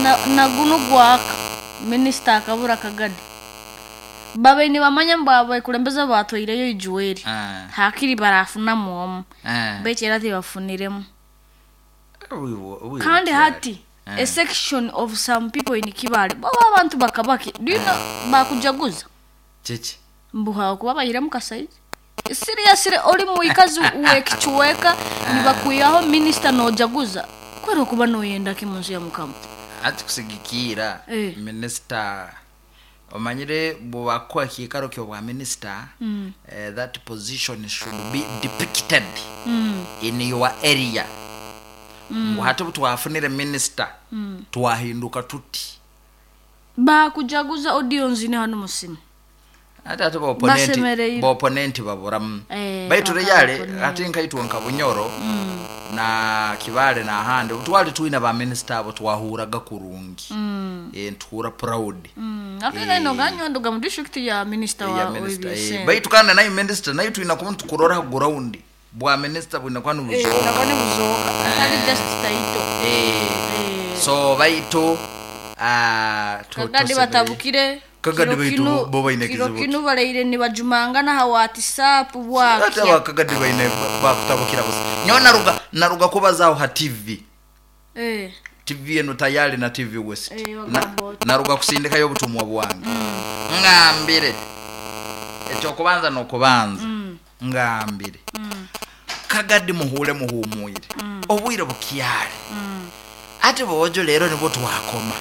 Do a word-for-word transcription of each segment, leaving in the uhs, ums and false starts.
Na- Nagunu gwaka minisita akabura Kagadi babe nibamanya mbu abakulembeze batwaireyo ijuweri Ah. hakiri barafunamu omu Eh. baitu era tibafuniremu. Obwibu- obwibu Kandi bukyali. hati Eh. a section of some people in Kibale baba abantu bakabaki, do you know, bakujaguza Kiki? mbu hakuba bahiremu Kasaija. Seriously, oli muikazi wekichweka nibakwihaho minisita nojaguza kwera okuba noyenda ki munsi ya Mukama? Ati kusigikira Eh. minisita omanyire bwebakuha ekiikaro kyobwa minisita, eh, that position should be depicted in your area, ngu hati butwafunire minisita twahinduka tuti. Bakujaguza audience ne hano musimu. Ate ate baoponenti Basemereire. Baoponenti baburamu. Eh, baitu baka reyale opponent. ate nkaitwe nka Bunyoro na Kibale nahandi twali twine baminisita abo twahuraga kurungi, Eh, ntuhura proud. Mm, ate naino ganyondoga mu district ya minisita Ya wa minister, eh, w'ebyesente. baitu kandi nayo minisita nayo twina kuba tukurora ha ground bwa minisita bwina kuba Eh, nibuzoka. nabwo nibuzoka atari just title. Eh, Eh. so baitu ah, tu- Kagadi tusemerere- batabukire. Kagadi Kiro baitu kinu- bo- bo baine kiro kizibu. kinu baraire nibajumangana ha WhatsApp Ate bwakya. abakagadi baine bakutabukira busa. Nyowe naruga naruga kubazaho ha T V. Eh, T V eno tayari na T V West. Eh, Na- bagamba oti. Naruga kusindikayo obutumwa bwange ngambire ekyokubanza nokubanza ngambire Kagadi muhure muhumwire obwire bukyali. Ate bojo leero nibwo twakoma,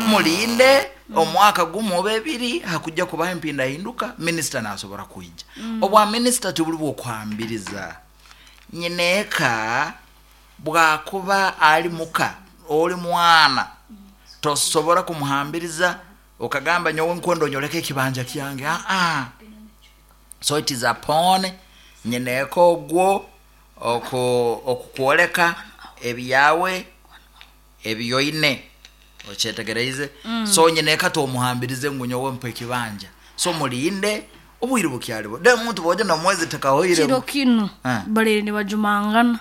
mulinde omwaka gumu oba ebiri hakujja kubaho empindahinduka, minisita nasobora kwija. Obwa minisita tibuli bwokuhambiriza nyineeka bwakuba ali muka oli mwana tosobora kumuhambiriza okagamba nyowe nkwenda onyoleke ekibanja kyange. Aa, so it is upon nyineeka ogwo oku- okukwoleka ebyawe ebyoine okyetegereize. So nyineeka tomuhambirize ngu nyowe mpa ekibanja. So mulinde obwire bukyalibo de omuntu bojo nomwezi tekahoire. Kiro kinu Ah. baraire nibajumangana.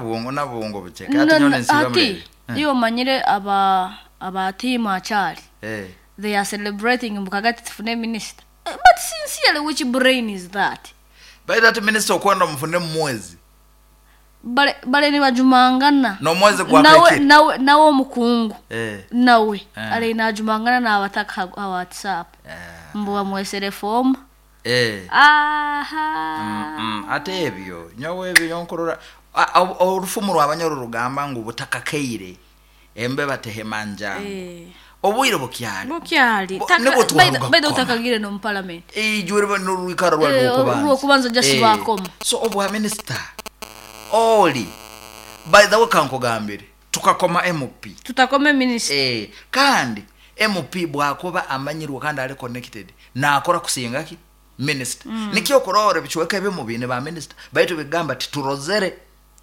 Bwongo nabwongo bucheke. No, Ate no, nyone nsiba ati mulebe. iyo omanyire aba aba team akyali Eh. they are celebrating mbu Kagati tufune minister. Eh, but sincerely, which brain is that? By that minister okwenda mufune mumwezi. Bare bare nibajumangana. N'omwezi nawe gwakekire. nawe nawe omukungu Eh. nawe Eh. ari najumangana n'abataka ha WhatsApp Eh. mbu bamwesere fomu. Eh. Aha. Mm, ate ebyo nyowe ebyo nyonkurora A- a- orufumu rwabanyoro rugamba ngu butakakeire embe batehema njangu. Eh. Obwire bukyali. Bukyali. Bo- Taka- nibwo by the- twaruga by the kukoma. utakagire no mu parliament. Ijure n'orwikaro rwa Eh, rwokubanza. orwokubanza just Eh, bakoma. So obwa minisita oli by the way kankugambire tukakoma M P. Tutakome minister. Eh, kandi M P bwakuba amanyirwe kandi ali connected nakora kusinga ki minisita mm. Nikyo kurora ebichweka ebimu biine ba minisita baitu bigamba titurozere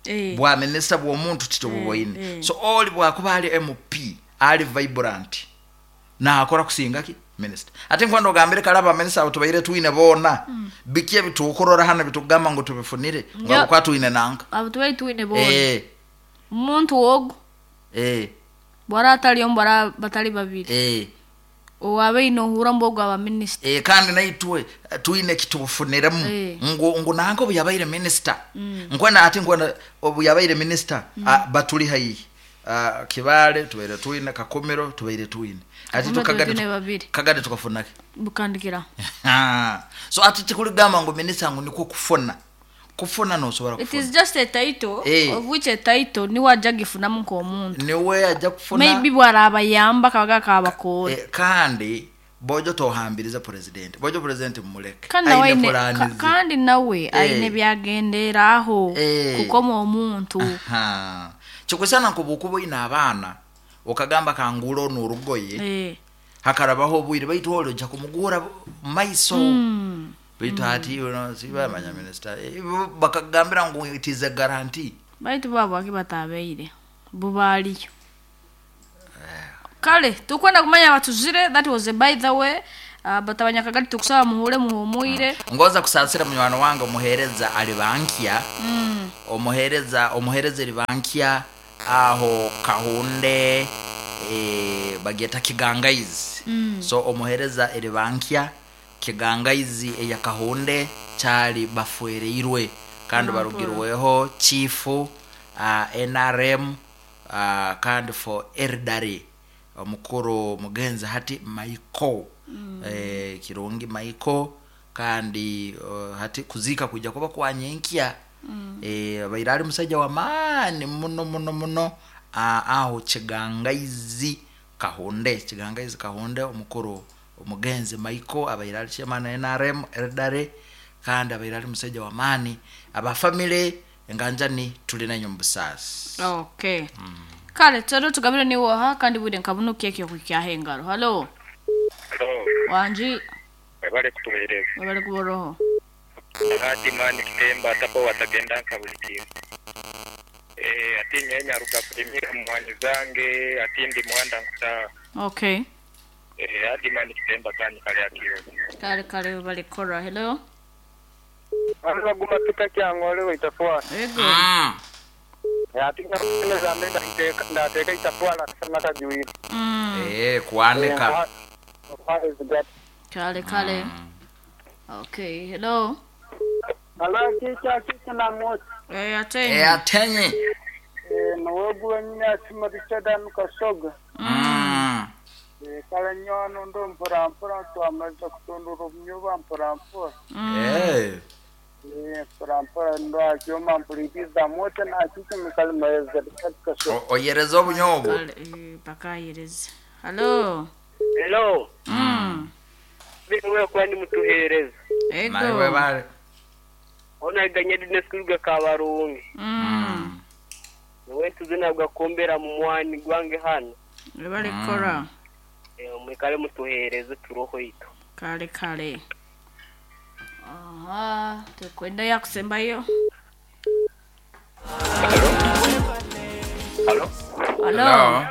Eh. bwa minisita bw'omuntu titububoine. Eh, eh. So oli bwakuba ali M P ali vibrant nakora kusinga ki minisita. Ate nkwenda ogambire kale abaminisita abo tubaire twine boona biki ebitukurora hano bitugamba ngu tubifunire Ya. nga twine nanka. Abo tubaire twine boona. Eh, Omuntu ogu eh, bwara atali omu bwara batali babiri eh. owabaine ohura mbu ogu aba minisita. Eh, kandi naitwe eh, twine kitubufuniremu. Eh. ngu ngu nanka obu yabaire minisita nkwenda ati nkwenda obu yabaire minisita ah, batuli haihi. Ah, Kibale tubaire twine, Kakumiro tubaire twine, ati Kakumiro tukagadi twine babiri. Kagadi tukafunake. Bukandikira. So ati tikuligamba ngu minisita ngu nikwo kufuna kufuna nosobora It kufuna. is just a title, Eh. of which a title niwe ajja gifunamu nk'omuntu. Niwe ajja kufuna. Maybe bwarabayamba kabaga kabakoora. Eh, kandi bojo tohambiriza president, bojo president mumuleke. Kandi nawe Aine aine- pulani ka- ze. kandi nawe aine byagenderaho Eh. kukoma omuntu. Aha. Kikusana nkuba oine abaana okagamba kangura onu orugoye, Eh. hakarabaho obwire baitu oli ojja kumugura mumaiso. Mm. Baitu ati you know, sibamanya minisita. Eh, bakagambira ngu it is a guarantee. Baitu babwaki batabeire bubaaliyo kale tukwenda kumanya batuzire. That was a by the way. uh, but abanyakagari tukusaba muhure muhumwire. Ngoza kusasira munywani wange omuhereza ali bankya. mm. Omuhereza omuhereza eri bankya aho Kahunde. eh, bagyeta Kigangaizi. So omuhereza eribankya Kigangaizi eyakahunde kyali bafwereirwe kandi barugirweho chief uh, N R M, uh, kandi for elderly omukuru mugenzi hati Michael mm. eh, Kirungi Michael. Kandi uh, hati kuzika kuja kuba kwanyenkya mm. eh, baira ali musajja wa maani muno muno muno uh, aho Kigangaizi Kahunde, Kigangaizi Kahunde, omukuru omugenzi Michael abaire ali chairman N R M elderly kandi abaire ali musajja wa maani. Abafamily enganjani tuli nanyo mubusasi. Okay, kale tero tugabire niwoha kandi bwire nkabunukia ekyo kukyaha engaro. Halo? Halo, Wanji. Webale kutuweereza. Webale kuboroho. Hati mani kitemba atapo watagenda nka buli kimu. Eh, ati nyenya ruga kulimira mwanyi zange, ati ndi mwanda nkuta. Okay. Eh, hadi mani kitemba kanyi kale akiyo. Kale kale, webale kora. Hello? Baguma pita kyangole waitafwala. Ego. mm. Ati neza ndateeka ndateeka itafwala kasana kajuire. Mm. eh, kuanika. Kale kale. Okay, hello? Alo, kicha kicha na moto. Eh, atenyi. eh, atenye. Eh, noweguwe nyine asima Richard kasoga. mm. Eh, kale nyono ndo mpora mpora twamaze kutondora obunyuba mpora mpora. eh. Eh, mpora mpora ndo akyoma mpuliriza moto na kicha mikali maeza Richard Kasoga. O- oyereza obunyobwo. Kale, eh, bakayereza. Hello? Hello, Mm. bimwe kwandi mutuhereza. Nawe Ego. webale. Onaganye dine skuruga kabarungi. Mm. Niwe tuzina gakombera mu mwani gwange hano. Webale kora. Eh, mwikale mutuhereze turoho ito. Kale kale. Aha, tukwenda yakusembayo. Halo? Hello?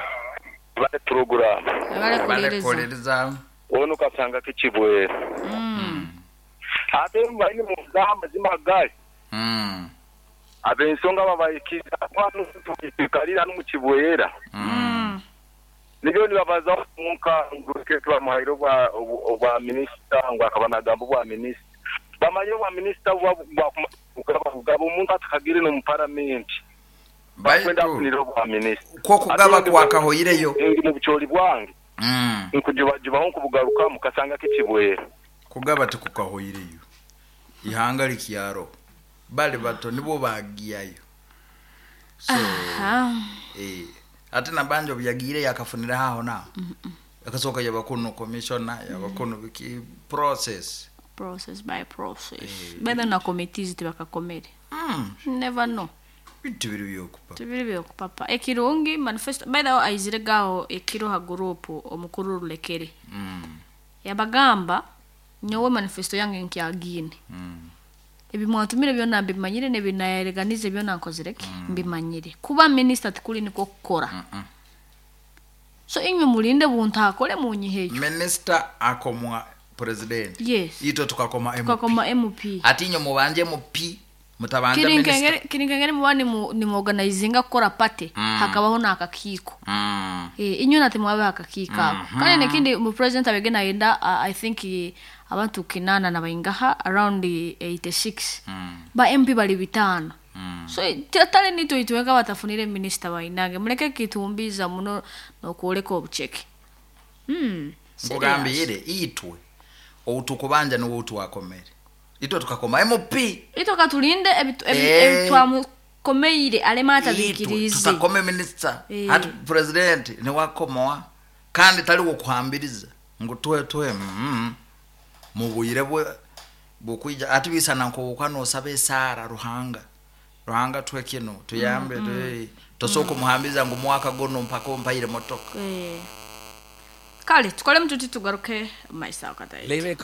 Bale program. Webale Webale kuliriza. kuliriza. Ono kasanga kikibwera. Mm. Ate mbaini mu gamba zimagali. mm. Abensonga babayikiza kwano tukalira no mukibwera. Mm. Nibyo nibabaza munka nguruke bamuhaire obwa obwa minisita ngo akaba nagamba obwa minisita. Bamanye obwa minisita bwa bwa omuntu atakagire no mu paramenti. Bakwenda Baitu afunire obwa minisita. kwo kugaba kwakahoireyo. Ndi mu bukyoli bwange mm. nkujubajubaho nkubugarukamu kasanga kikibwera. Kugaba tikukahoireyo, ihanga likyaro bali bato nibo bagiyayo so. Aha. eh, ate nabanja obuyagiire yakafunira haho naho akasooka yabakuno commissioner yabakuno biki process. Process by process. Bebe na committees tibakakomere. mm. Never know. Bintu biri byokupa. Tubiri byokupapa. Ekirungi manifesto by the way aizire gaho ekiro ha group omukuru rulekere. mm. Yabagamba nyowe manifesto yange nkyagine. mm. Ebi mwatumire byona mbimanyire nebinayereganize byona nkozireke mbimanyire. Kuba minister tikuli niko kukora. Mm-mm. So inywe mulinde buntakole munyiheyo. Minister akomwa president. Yes. Itwe tukakoma M P. Tukakoma M P. Ati inyo mubanje M P mutabanja minister. Kirinkengere kirinkengere muba nimu nimuorganizinga kukora party Mm. hakabaho n'akakiiko. mm. Eh, inywe nate mwabe akakiiko ako. Kandi nekindi mu president abege nayenda uh, I think eh, abantu kinana na baingaha around eh, eighty-six. Mm. Ba M P bali bitano. Mm. So tale nito itweka batafunire minister bainange muleke kitumbiza muno nokwoleka obucheke. Mm. Nkugambire itwe outukubanja niwe utwakomere itwe tukakoma M P. Ito katulinde ebitu- ebi- Eh. ebitwamukomeire alema Itwe atabikirize. tutakome minister. Eh. Hati president niwakomoa kandi taliwo kuhambiriza ngu tuhe tuhe mm, mubwire bwe bukwija ati bisana nkobuka nosaba esara Ruhanga, Ruhanga tuhe kino tuyambe mm, mm. Tosoka kumuhambiriza ngu mwaka gono mpaka ompaire motoka. Eh. Kale tukole mtuti tugaruke maisa wakatayi. Leave.